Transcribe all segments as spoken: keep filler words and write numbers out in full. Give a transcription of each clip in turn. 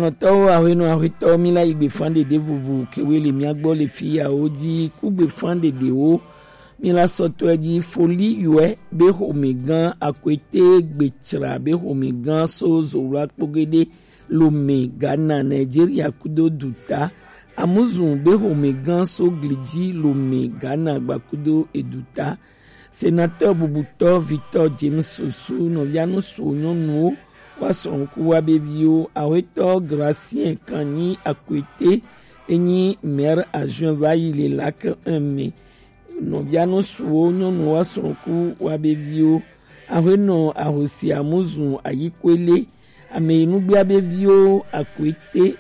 Lɔtɔwo, ahwenɔ ahwetɔ, mi la yi gbefan ɖeɖe vuvu kewe le mia gbɔ le fi yawo ji ku gbefan ɖeɖewo. Mi la sɔtɔe ji foli yɔe be xomegã akwete gbetsra be xomegã so zowla kpogede lome Ghana, Nigeria kudo duta. Amuzun be xomegã so gliji lome Ghana gbakudo eduta. Sénateur bubutɔ Victor James Sossou, nɔvia nusuwo nyɔnuwo, wa srɔ̃ku wa be viwo, ahwetɔ Gracien Kanyi Akwete, enyi maire adjoint va yi le lac un me. Nɔvia nusuwo nyɔnuwo wa srɔ̃ku wa be viwo, ahwenɔ ahosi Amuzun Ayikwele, ame yi nugbea be viwo Akwete,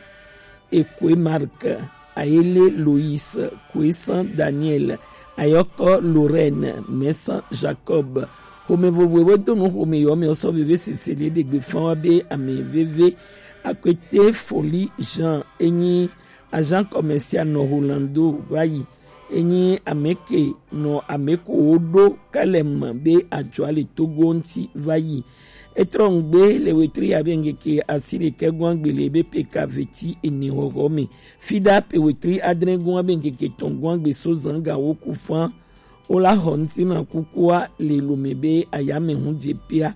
Ekwe Mark, Ayele Lois, Kwesan Daniel, Ayɔkɔ Lorraine, Mɛsan Jacob. Xome vovo ewe do nu xome yɔ me sɔ veve sese le ɖegbe fan wa be ame veve. Akwete Foli Jean, enyi agent commercial nɔ Rolando va yi. Enyi ameke nɔ ameko wo ɖo kalem be ajɔa le Togo ŋuti va yi. Etrɔ ŋgbe le wetri abe ŋkeke asi ɖekɛ gɔn agbe le ebe pe ka veti ene xɔxɔ me. Fida pe wetri adre gɔn abe ŋkeke tɔn gɔn agbe so zan ga wo ku fan. Wo la xɔ ŋuti na kukua le lome be ayame hu dze pia.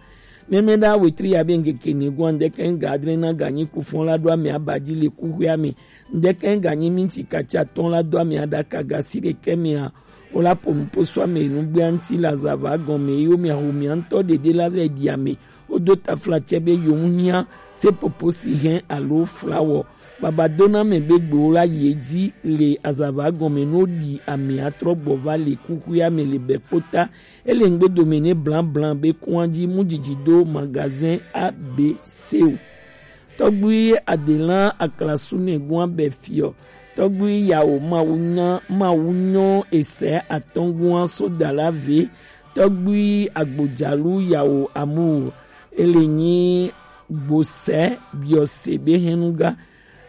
Mɛmɛ ɖa wetri abe ŋkeke ne gɔn ŋdɛkɛ ŋga adre na ganyi ku fan la ɖo ame abadzi le kuxuia me. Ŋdɛkɛ ŋganyi minti katsi atɔn la do ame aɖaka gasi ɖekɛ mea. Wo la po nupo so ame nugbea ŋuti le azava gɔme yi wo mia xo mia ŋutɔ ɖeɖe la vɛ ɖi ame. Wodo taflatse be yewo ŋu hiã seƒoƒo si hɛn alo flawɔ. Baba dona ame be gbewo la yi edzi le azava gɔme ne woɖi amea trɔ gbɔ va le kuxuia me le bɛkpota. Ele ŋgbe dome ne blaŋblaŋ be kua dzi mu dzidzi do magazin A B C o. Tɔgbui Adelan Aklasu ne gua bɛ fiɔ. Tɔgbui Yawo Mawu nya Mawu nyɔ esɛ atɔngua so dala ve. Tɔgbui Agbodzalu Yawo Amu ele nyi gbosɛ biɔse be hɛnuga.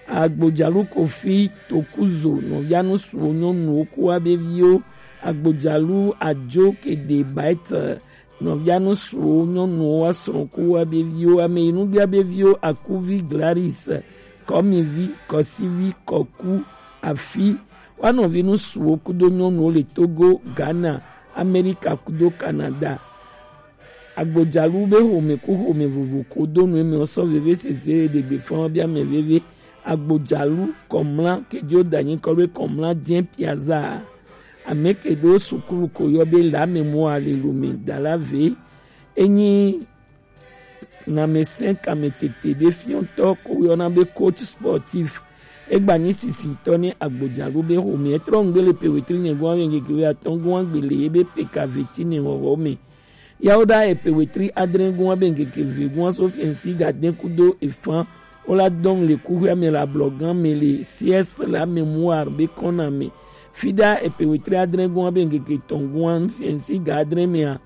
Agbodzalu Kofi Tokuzo nɔvia nusuwo nyɔnuwo ku wa be viwo. Agbodzalu Adzo Kede Baete nɔvia nusuwo nyɔnuwo wa srɔ̃ ku wa be viwo. Ame yi nubia be viwo Akuvi Glaris, Kɔmivi, Kɔsivi, Kɔku, Afi. Wa nɔvi nusuwo kudo nyɔnuwo le Togo, Ghana, Amerika kudo Canada. Agbodzalu be xome ku xome vovo ko do nu eme sɔ veve sese ɖegbe fɔn bia mɛ veve. Agbodzalu Kɔmla kejo danyi kɔ be Kɔmla jɛ piaza. Ame ke ɖo sukulu ko yɔ be la mémoire le lome dala ve. Enyi namesẽ kametete ɖe fiɔtɔ ko yɔna be coach sportif. Egba nyi sisitɔ ne agbodzalu be xome etrɔ ŋgbe le pe wetri ne gɔn ave ŋgege atɔn gɔn agbe le ebe pe ka veti ne wɔwɔ me. Yawo ɖa epe wetri adre gɔn abe ŋgege ve gɔn so fiɛnsi gadɛn kudo efan. Wo la dɔn le kuxuia me le ablɔgan me le C S la mémoire be kɔna me. Fida epe wetri adre gɔn abe ŋgege tɔn gɔn fiɛnsi gadre mea.